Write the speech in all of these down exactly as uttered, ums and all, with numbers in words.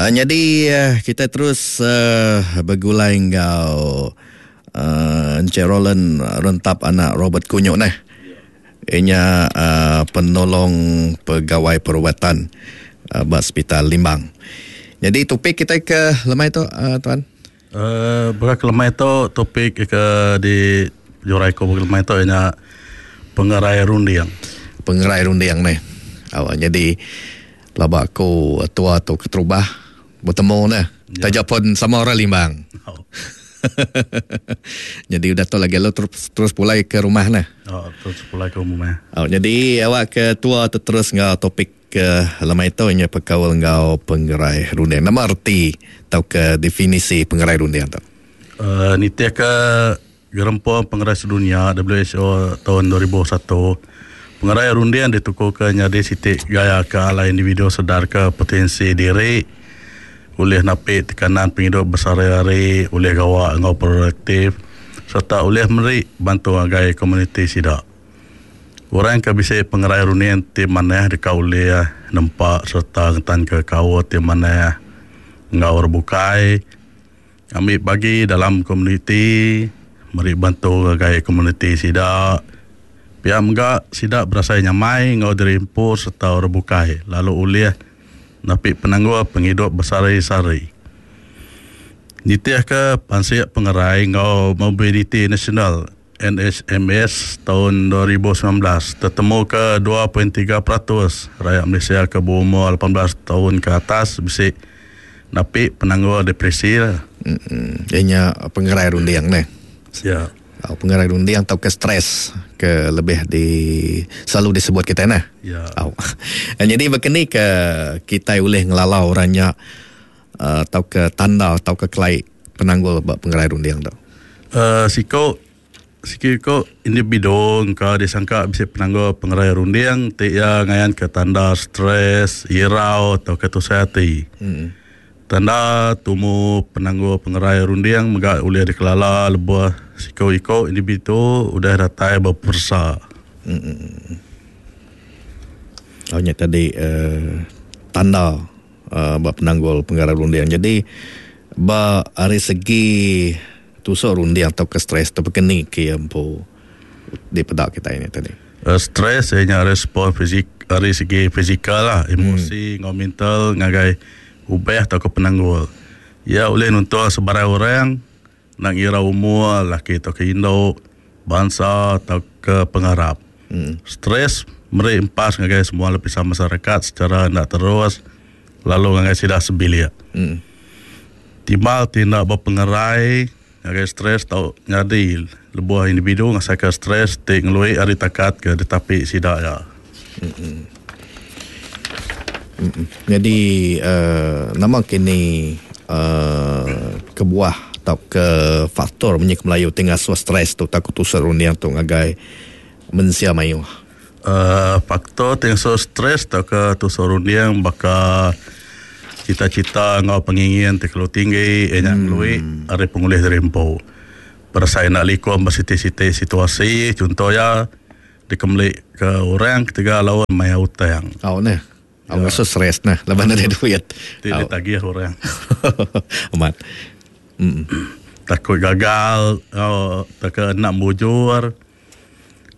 Uh, jadi uh, kita terus uh, begulai enggau uh, Encik Roland Rentap anak Robert Kunyuk neh. Inya uh, penolong pegawai perubatan uh, ba Hospital Limbang. Jadi topik kita ke lemai tu uh, tuan. Uh, baka lemai tu topik ke di jurai ko lemai tu inya pengerai runding. Pengerai runding neh. Awak jadi laba aku tua tu keterubah bertemu neh. Ya. Taja pun sama orang Limbang. Oh. Jadi udah tu lagi lu terus terus pulai ke rumah neh. Oh, terus pulai ke rumah. Oh, jadi awak ke tua tu terus ngau topik ke lemai tu inya pekaul ngau pengerai runding. Nama erti atau ke definisi pengerai runding tu? Uh, nitih ke Gerempung Pengerai Sedunia W H O tahun dua ribu satu, pengerai runding ditukukan jadi sitik gaya ke ala individu sedar ke potensi diri oleh napi tekanan penghidup besar-hari, oleh gawak ngau produktif serta oleh meri bantu agai komuniti sidak. Orang ke bisa pengerai runding ti manah deka oleh nempak serta ngetan ke kau ti manah ngau rebukai ambil bagi dalam komuniti meri bantu agai komuniti sidak. Pihak menggak sidak berasa nyamai ngau dirimpur serta rebukai lalu ulih napi penangguh penghidup besari-sari. Nitih ke Pansik Pengerai ngau Mobility National N H M S tahun dua ribu sembilan belas tertemu ke dua perpuluhan tiga peratus rakyat Malaysia ke berumur lapan belas tahun ke atas bisik napi penangguh depresi lah. Hmm, ianya pengerai runding ni. Ya. Oh, pengerai runding atau ke stres ke lebih di selalu disebut kita nah. Ya. Oh. Jadi begini ke kita boleh ngelalau orangnya uh, atau ke tanda atau ke kelai penanggul bab pengerai runding tu. Uh, siko siko individu engkau disangka bisa penanggul pengerai runding ti ya ngayan ke tanda stres, irau atau ketusah hati. Hmm. Tanda tumu penangguh pengerai runding mega boleh dikelala lebuh siko-iko individu udah datai berpersa. Hmm. Oh, nya tadi uh, tanda uh, bab penanggul pengerai runding. Jadi ba ari segi tusuk runding atau ke stres tu keni ke empu di pedak kita ini tadi. Uh, stres ianya respon fizik ari segi fizikal lah, emosi hmm. ngau mental ngagai ubah atau ke penanggul. Ya oleh nuntua sebarang orang nak ngira umur, laki atau ke induk, bangsa atau ke pengarap. Hmm. Stres meri impas ngagai semua lapisan masyarakat secara nak terus lalu ngagai sidah sebilik. Hmm. Timbal tindak berpengerai ngagai stres tau nyadi lebuh individu ngasaka stres ti ngelui ari takat ke ditapi sidak ya. Hmm. Jadi uh, nama kini uh, kebuah atau ke faktor menyek Melayu tinggal stres tu takut tusuk runding tu ngagai mensia mayuh. Uh, faktor tinggal stres atau ke tusuk runding baka cita-cita ngau pengingin terlalu tinggi enya hmm. ngelui ari pengulih dari empu. Perasaan nak likom bersiti-siti situasi contohnya dikemlik ke orang ketiga lawan maya utang. Oh neh. Aku rasa stres nah, lepas ada duit. Tidak tagih orang. Amat. Mm. Takut gagal, oh, takut nak mujur.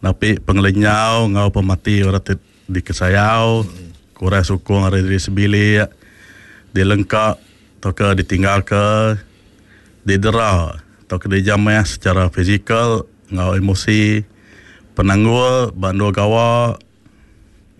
Tapi pengelenyau, ngau pemati orang dikesayau, mm. kurang sukung hari diri sebilik, dilengkap, atau ke ditinggal ke, didera, atau ke dijamah secara fizikal, ngau emosi, penanggul, bandu gawa.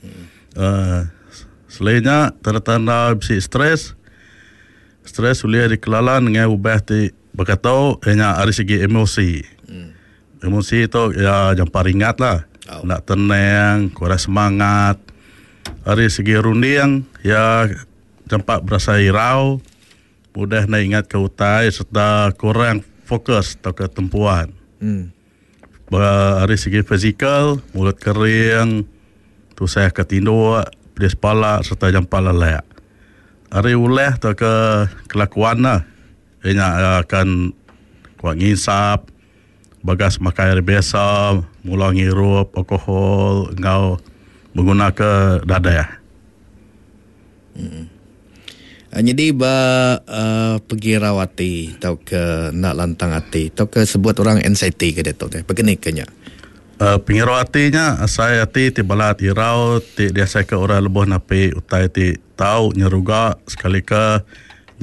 Mm. Uh, Selainnya, tanda-tanda bisi stres, stres boleh dikelala dengan ubah ti berkata, hanya dari segi emosi. Hmm. Emosi tu ya jampa ringat lah. Oh. Nak tenang, kurang semangat. Dari segi runding, ya jampa berasa irau, mudah nak ingat ke utai serta kurang fokus atau ketempuan. Hmm. Dari segi fizikal, mulut kering, tu saya ketinduk, pedis kepala serta jampa lelak. Hari ulah atau ke kelakuan lah. Ianya akan kuat ngisap, bagas makan air biasa, mula ngirup alkohol, ngau menggunakan dadah. Hmm. Jadi ba uh, pegirau ati atau ke nak lantang ati atau ke sebut orang anxiety ke dia tu deh. Begini ke nya. Uh, pengirau ati nya asai ati ti balat irau ti diasai ke orang lebuh napi utai ti tau nyeruga sekali ke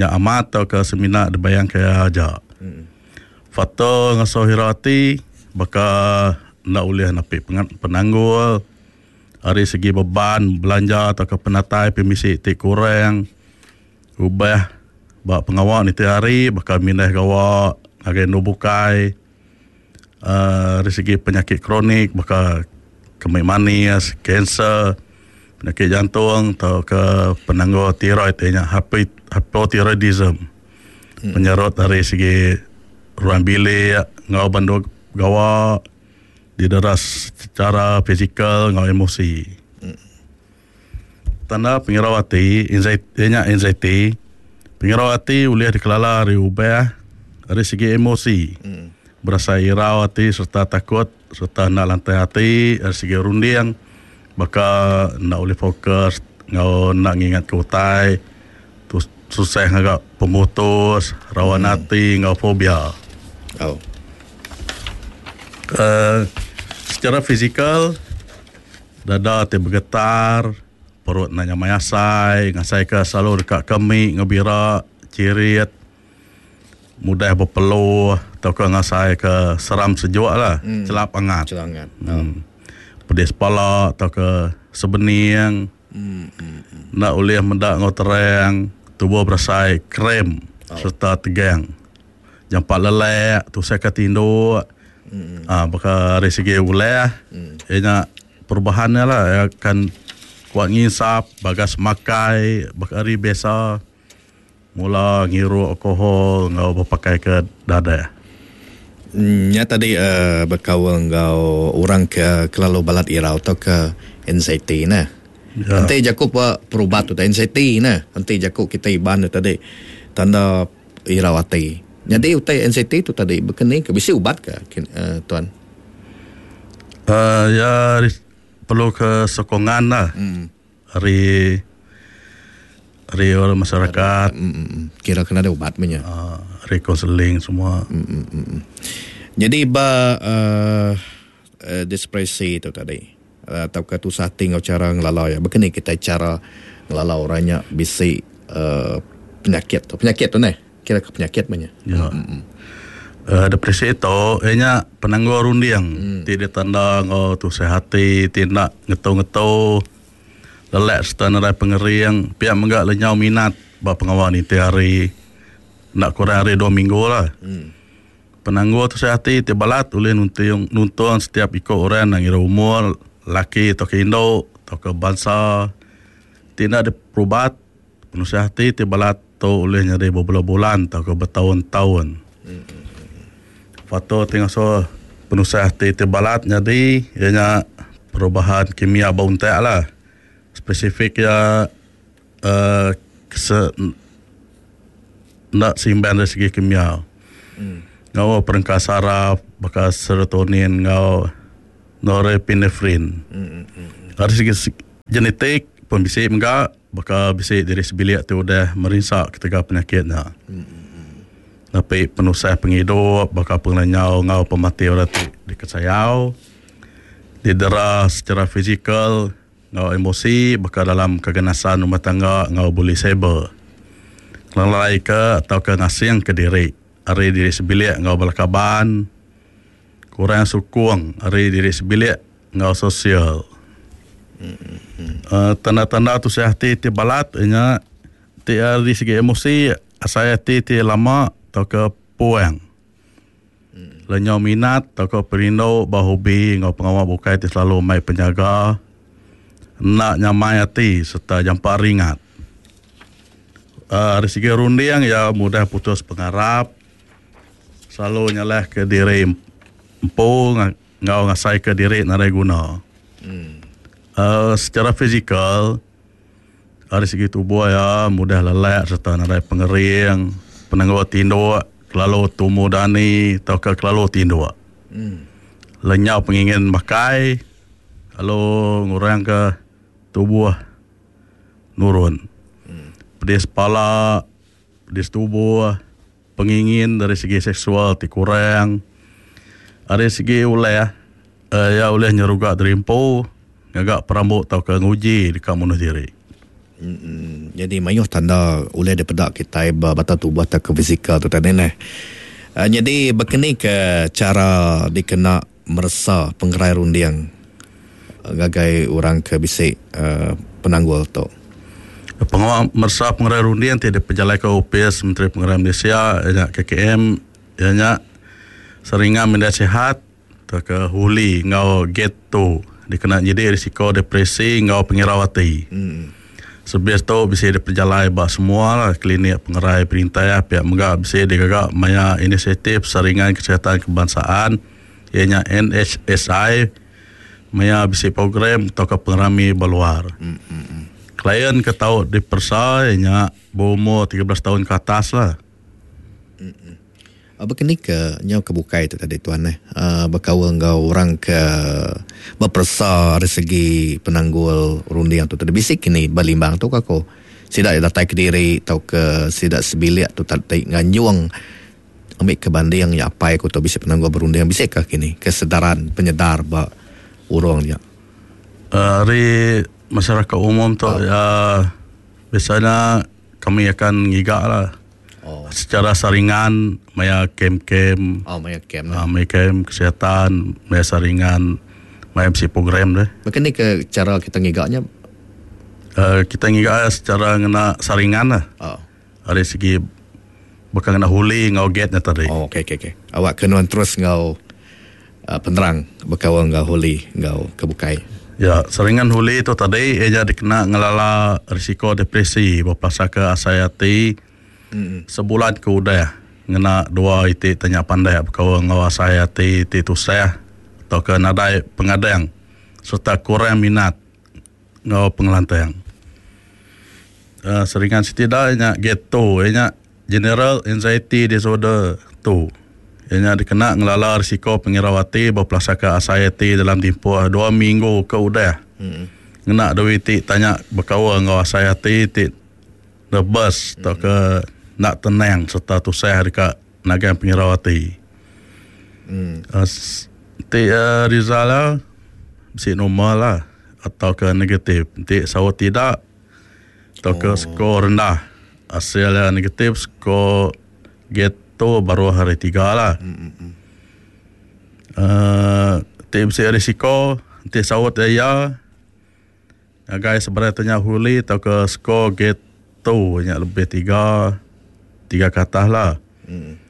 nya amat atau ke semina dibayang ke aja. Hmm. Faktor ngasuh irau ati baka nak ulih napi penanggul ari segi beban belanja atau ke penatai pemisi ti kurang. Ubah ba pengawal ni tiap hari bakal mindah gawa ngagai nu bukai uh, dari segi penyakit kronik bakal kemik manis, kanser, penyakit jantung atau ke penanggul tiroid nya hypothyroidism. Hmm. Penyerut dari segi ruang bilik ngau bandu gawa dideras secara fizikal ngau emosi. Hmm. Tanda pengirau ati, anxiety, nya anxiety. Pengirau ati boleh dikelala dari ubah dari segi emosi. Hmm. Berasa irau ati serta takut serta nak lantai ati dari segi runding baka nak boleh fokus ngau nak ngingat ke utai tu susah ngagak pemutus rawan hmm. ati ngau fobia. Oh. Uh, secara fizikal dada ti bergetar, perut nak nyamai asai, ngasai ke selalu dekat kemik, ngebira, cirit, mudah berpeluh, atau ke ngasai ke seram sejuk lah, hmm. celap angat. Celap angat. Hmm. Pedis kepala, atau ke sebening, hmm. Hmm. nak ulih mendak ngau terang, tubuh berasai krem, oh. serta tegang. Jampak lelek, tu saya ke tinduk, hmm. ah, baka dari segi ulah, hmm. ia perubahannya lah, ia akan kuat ngisap, bagas makai, bakari biasa, mula ngiru alkohol, ngau berpakai ke dada. Hmm, ya tadi uh, berkawal ngau orang ke kelalu balat irau atau ke anxiety nah. Ya. Nanti jaku perubat tu anxiety nah. Nanti jaku kita iban tu tadi tanda irau ati. Jadi utai anxiety tu tadi berkeni ke bisi ubat ke uh, tuan? Uh, ya perlu ke sokongan lah. Hmm. Dari dari orang masyarakat. Hmm. Kira kena ada ubat punya. Uh, rekonseling semua. Hmm, hmm, hmm. Jadi ba uh, uh, depresi itu tadi atau uh, ketusah tinggal cara ngelala ya. Begini kita cara ngelala orangnya bisi uh, penyakit tu. Penyakit tu neh. Kira ke penyakit punya. Ya. Hmm. Uh, depresi itu ianya penanggul runding. Hmm. Tidak tanda ngau tu sehati, tindak ngetu-ngetu, lelak serta nerai pengering, pihak menggak lenyau minat ba pengawal ni tiap hari. Nak kurang hari dua minggu lah. Hmm. Penanggul tu sehati tiap balat boleh nuntung, nuntung setiap ikut orang yang ngira umur, laki atau ke induk atau ke bangsa. Tindak ada perubat, penuh sehati tiap balat tu boleh nyari berbulan-bulan atau ke bertahun-tahun. Hmm. Faktor tengok so penusah hati terbalat jadi ianya perubahan kimia bauntak lah. Spesifik ya uh, kese, nak seimbang dari segi kimia. Hmm. Ngau perengkas saraf, bekas serotonin, ngau norepinefrin. Hmm, hmm, hmm. Dari segi genetik pun bisik enggak, bakal bisik diri sebilik tu udah merinsak ketika penyakitnya. Hmm. Tapi penusah penghidup, bakal penglenyau ngau pemati orang tu dikesayau, didera secara fizikal, ngau emosi, bakal dalam keganasan rumah tangga ngau boleh cyber. Kelalai ke atau ke ngasing ke diri, hari diri sebilik ngau belakaban, kurang sukung hari diri sebilik ngau sosial. Mm-hmm. Uh, tanda-tanda tu sehati ti balat nya ti dari segi emosi asai hati ti lama atau ke puang. Hmm. Lenyau minat atau ke perindu bah hobi ngau pengawal bukai ti selalu mai penjaga nak nyamai hati serta jampak ringat. Uh, dari segi runding ya mudah putus pengarap, selalu nyalah ke diri empu ngau ngasai ke diri narai guna. Hmm. Uh, secara fizikal dari segi tubuh ya mudah lelak serta narai pengering, penanggul tinduk, kelalu tumu dani atau ke kelalu tinduk. Hmm. Lenyau pengingin makai, lalu ngurang ke tubuh nurun. Hmm. Pedis pala, pedis tubuh, pengingin dari segi seksual ti kurang. Dari segi uleh, uh, ya uleh nyeruga terimpu, ngagak perambut atau ke nguji dekat bunuh diri. Hmm, jadi mayuh tanda uleh daripada kita bata tubuh atau ke fizikal tu tadi neh. Uh, jadi berkeni ke cara dikena meresa pengerai runding ngagai orang ke bisik uh, penanggul tu. Pengawal meresa pengerai runding ti dipejalai ke O P S Menteri Pengerai Malaysia ya K K M ya nya seringan minda sihat atau ke huli ngau get tu dikena jadi risiko depresi ngau pengirawati. Hmm. Sebab tu bisa diperjalai ba semua lah klinik pengerai perintah ya, pihak megah bisa digagak maya inisiatif saringan kesihatan kebangsaan ianya N H S I maya bisa program atau ke pengerami berluar. Hmm, hmm, hmm. Klien ke tau dipersa ianya berumur tiga belas tahun ke atas lah. Hmm, hmm. Berkeni ke nyau kebukai tu tadi tuan eh uh, berkaul ngau orang ke berpersa dari segi penanggul runding tu tadi bisik kini berlimbang tu kako sidak datai ke diri atau ke sidak sebilik tu tadi nganjung ambil ke banding ya apai ku tu bisik penanggul berunding bisik ke kini kesedaran penyedar ba urang dia. Uh, dari masyarakat umum tu oh. uh, biasanya kami akan ngigak lah. Oh. Secara saringan maya kem-kem. Oh, maya kem. Uh, maya kem kesihatan, maya saringan, maya M C program deh. Macam ni ke cara kita ngigaknya? Uh, kita ngigak secara ngena saringan lah. Oh. Dari segi bukan ngena huli ngau gate-nya tadi. Oh, okey okey okey. Awak kenuan terus ngau uh, penerang berkawan ngau huli ngau kebukai. Ya, saringan huli itu tadi ia dikena ngelala risiko depresi berpasal ke asayati. Mm-hmm. Sebulan ke udah ngena dua itik tanya pandai berkawan ngau asayati ti tusah atau ke nadai pengadang serta kurang minat ngau pengelantang. Uh, seringan setidaknya geto nya General Anxiety Disorder tu. Ianya dikena ngelala risiko pengirawati berpelasaka anxiety dalam tempoh dua minggu ke udah. Mm-hmm. Ngena dua itik tanya berkawan ngau anxiety ti nervous mm-hmm. atau ke nak tenang serta tusah dekat nagang pengirawati. Hmm. Uh, ti uh, result lah mesti normal lah atau ke negatif. Ti sawo tidak atau ke oh. skor rendah. Hasilnya negatif skor gitu baru hari tiga lah. Hmm. Uh, ti mesti risiko ti sawo ya. Guys sebenarnya tanya huli atau ke skor gitu banyak lebih tiga tiga kata lah. Hmm.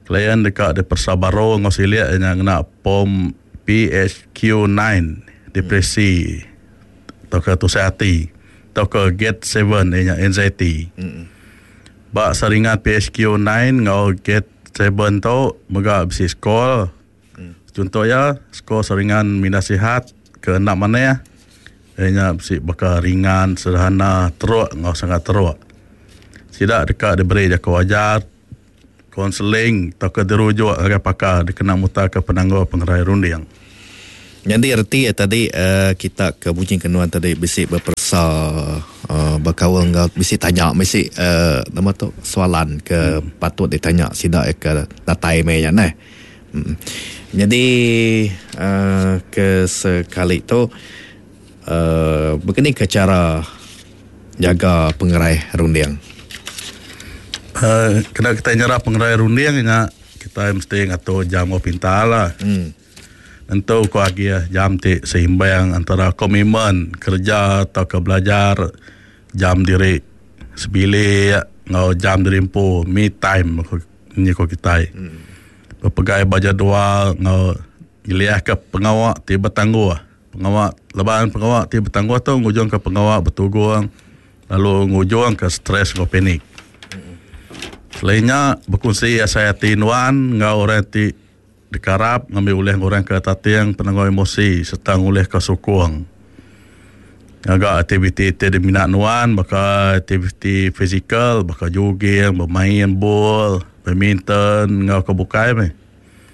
Klien dekat di persabaro ngau siliak yang kena pom P H Q nine depresi hmm. atau ke tusah hati atau ke get seven yang anxiety. Hmm. Bak saringan P H Q nine ngau get seven tu mega bisi skor. Hmm. Contoh ya skor saringan minda sihat ke enam mana ya. Ianya bisi bakal ringan, sederhana, teruk ngau sangat teruk. Tidak dekat diberi jaka wajar, konseling atau ke dirujuk agar pakar dikena mutar ke penangguh pengerai runding. Jadi erti ya tadi uh, kita ke Bujing Kenuan tadi bisik berpersa uh, berkawan ngau bisik tanya bisik uh, nama tu soalan ke hmm. patut ditanya sidak ke datai me nya neh. Hmm. Jadi uh, ke sekali tu uh, begini ke cara jaga pengerai runding. Uh, kena kita nyerah pengerai runding nya kita mesti ngatur jam pintar lah. Hmm. Tentu ko agi ya jam ti seimbang antara komitmen kerja atau ke belajar jam diri sebilik ngau jam diri empu me time ni ko kita. Hmm. Berpegai baja dua ngau nyeliah ke pengawak ti bertangguh. Pengawak lebaran pengawak ti bertangguh tu ngujung ke pengawak bertugung lalu ngujung ke stres ngau panik. Selainnya berkongsi asayati nuan ngau orang ti dikarap ngambil ulih orang ke tatiang penangguh emosi serta ngulih ke sukung. Agak aktiviti ti diminat nuan baka aktiviti fizikal baka jogging, bermain bol, badminton ngau ke bukai meh.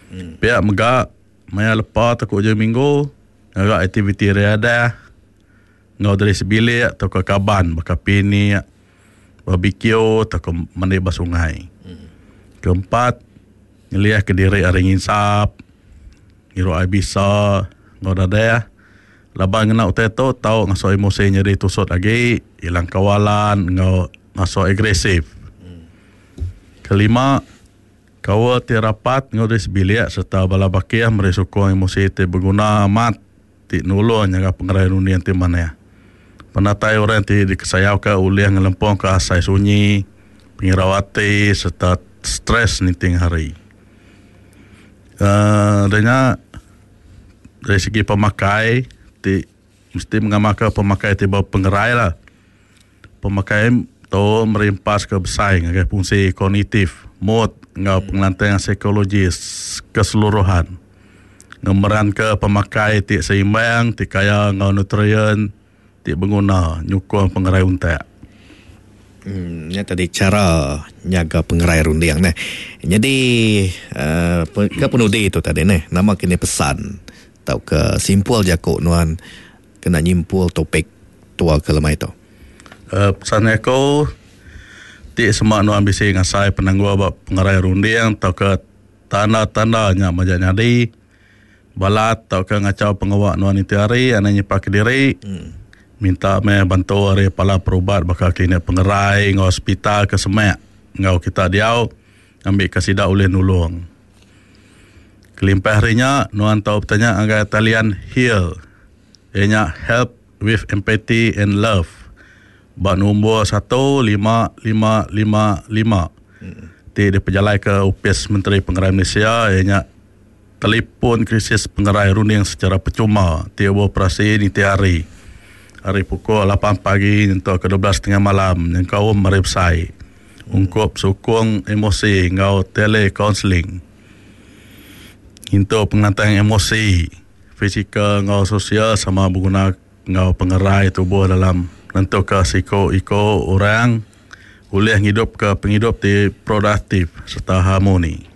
Hmm. Pihak megak maya lepa takut je minggu agak aktiviti riadah ngau dari sebilik atau ke kaban baka pinik barbecue atau ke mandi ba sungai. Hmm. Keempat, nyeliah ke diri ari nginsap, ngirup air bisa, ngau dadah. Laban ngena utai tu tau ngasuh emosi jadi tusut lagi, hilang kawalan, ngau ngasuh agresif. Hmm. Kelima, kawal ti rapat ngau dari sebilik serta bala bakih meri sukung emosi ti berguna amat ti nulung nyaga pengerai runding ti manah. Penatai orang ti dikesayau ke ulih ngelempung ke asai sunyi, pengirau ati serta stres ninting hari. Uh, dengan dari segi pemakai ti mesti mengamalkan pemakai ti berpengerai lah. Pemakai tu merimpas ke besar ngagai fungsi kognitif, mood ngau pengelantang psikologis keseluruhan. Ngemeran ke pemakai ti seimbang, ti kaya ngau nutrien, ti berguna nyukung pengerai untak. Hmm, ya tadi cara nyaga pengerai runding neh. Jadi uh, ke penudi itu tadi neh, nama kini pesan atau ke simpul jakuk nuan kena nyimpul topik tua ke lemai tu. Uh, pesan aku ti semak nuan bisi ngasai penanggul ba pengerai runding atau ke tanda-tanda nya majak nyadi balat atau ke ngacau pengawak nuan itu hari ana nyipak ke diri. Hmm. Minta me bantu ari pala perubat bakal klinik pengerai ngau hospital ke semak ngau kita diau ambil ke sida ulih nulung. Kelimpah harinya nuan tau bertanya agai talian HEAL. Ianya Help with Empathy and Love. Ba nombor satu lima lima lima lima. Hmm. Ti dipejalai ke Upis Menteri Pengerai Malaysia ianya telefon krisis pengerai runding secara percuma ti beroperasi ni tiap hari. Hari pukul lapan pagi untuk ke dua belas tiga puluh malam yang kaum mari besai. Ungkup sukung emosi ngau telekonseling. Untuk pengatang emosi, fizikal ngau sosial sama berguna ngau pengerai tubuh dalam nentu ke psiko-iko orang boleh ngidup ke penghidup ti produktif serta harmoni.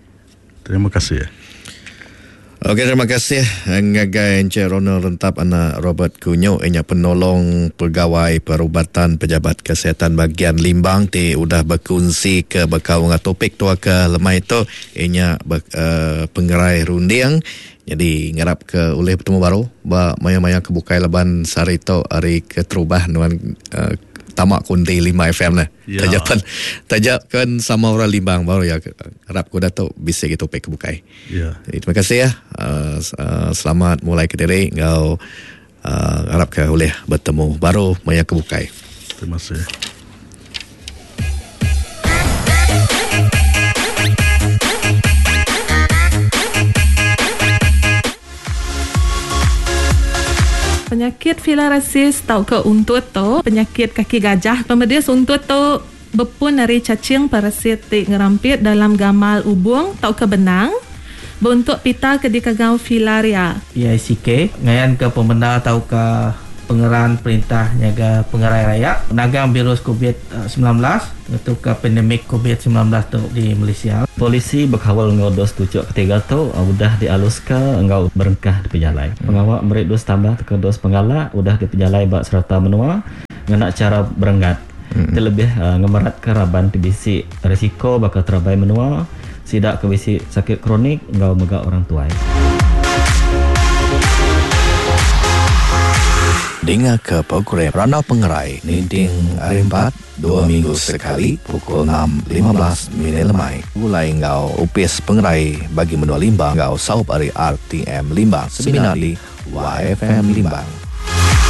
Terima kasih. Okey, terima kasih ngagai Encik Ronald Rentap anak Robert Kunyuk inya penolong pegawai perubatan pejabat kesihatan bahagian Limbang ti udah berkongsi ke bekau dengan topik tua ke lemai tu inya ber, uh, pengerai runding. Jadi ngarap ke ulih bertemu baru ba maya-maya kebukai laban sehari tu hari keterubah nuan uh, tamak kunti lima F M lah. Ya. Tajapan tajakan sama orang Limbang baru ya harap ku datuk bisa gitu topik kebukai. Ya. Jadi terima kasih ya. Uh, uh, selamat mulai ke diri ngau uh, harap ke boleh bertemu baru maya kebukai. Terima kasih. Penyakit filariasis tau ke untut tu, penyakit kaki gajah. Pemedis untut tu berpun dari cacing parasit ti ngerampit dalam gamal ubung tau ke benang. Bentuk pita ke dikagau filaria. P I C K ngayan ke pemenda tau ke pengeran perintah nyaga pengerai raya nagang virus covid sembilan belas untuk ke pandemik covid sembilan belas tu di Malaysia. Polisi berkawal ngau dos tujuh ketiga tu udah dialuska ngau berengkah di pejalai. Hmm. Pengawak merik dos tambah ke dos penggalak udah di pejalai bak serata menua ngena cara berenggat. Hmm. Terlebih uh, ngemerat ke raban T B C risiko bakal terabai menua sidak ke bisi sakit kronik ngau mega orang tuai. Dengar ke program Randau Pengerai Ninding hari empat, dua minggu sekali pukul enam lima belas minit lemai. Mulai ngau Upis Pengerai bagi menua Limbang ngau saup hari R T M Limbang. Seminar di Y F M Limbang.